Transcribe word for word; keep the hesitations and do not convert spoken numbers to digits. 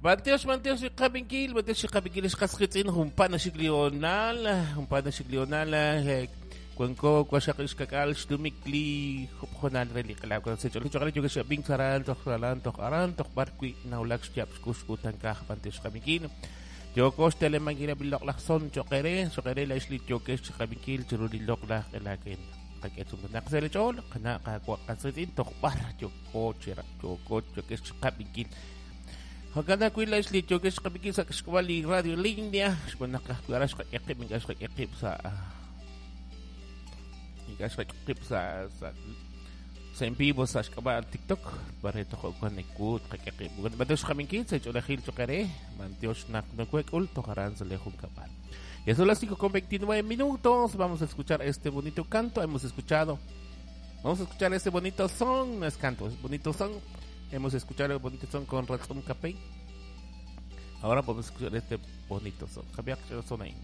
B'antiox, b'antiox xqab'inkil, b'antiox xqab'inkil xqasqitz'in jumpa' naxik li hoonal, jumpa' naxik li hoonal, eh, wanko waxaq xkak'al xtumik li jub'jonal re li q'alab' kan sech'ol choq'al yokex ab'ink saran toj aran toj aran toj b'ar wi' nawulak xyaab' xkux utankaj b'antiox xqab'inkil. Yoko xtelemankil eb' li loq'laj son choqere, choqere la ixli yokex xqab'inkil chiru li loq'laj q'elaken. Qak'etzum naq sa' li ch'ool, qana' qawa' qasqitz'in toj b'ar yoko chira yoko yokex xqab'inkil. Jo'kan ajwi' la ixli yokex xqab'inkil sa' xk'ab'a' li radio línea, xb'aan naq ajwi' aran xqak'e qib' ink'a' xqak'e qib' sa' ink'a' xqak'e qib' sa' sa' sa' en vivo sa' xk'ab'a' TikTok, bare toj wan ekut qak'e qib'. B'antiox xqab'inkil sa' ch'oolejil choqere, b'antiox naq nokuek'ul toj aran sa' le junkab'al. Ya son las cinco con veintinueve minutos. Vamos a escuchar este bonito canto. Hemos escuchado. Vamos a escuchar este bonito son. No es canto, es bonito son. Hemos escuchado el bonito son con Razón Capey. Ahora podemos escuchar este bonito son. Javier, son ahí.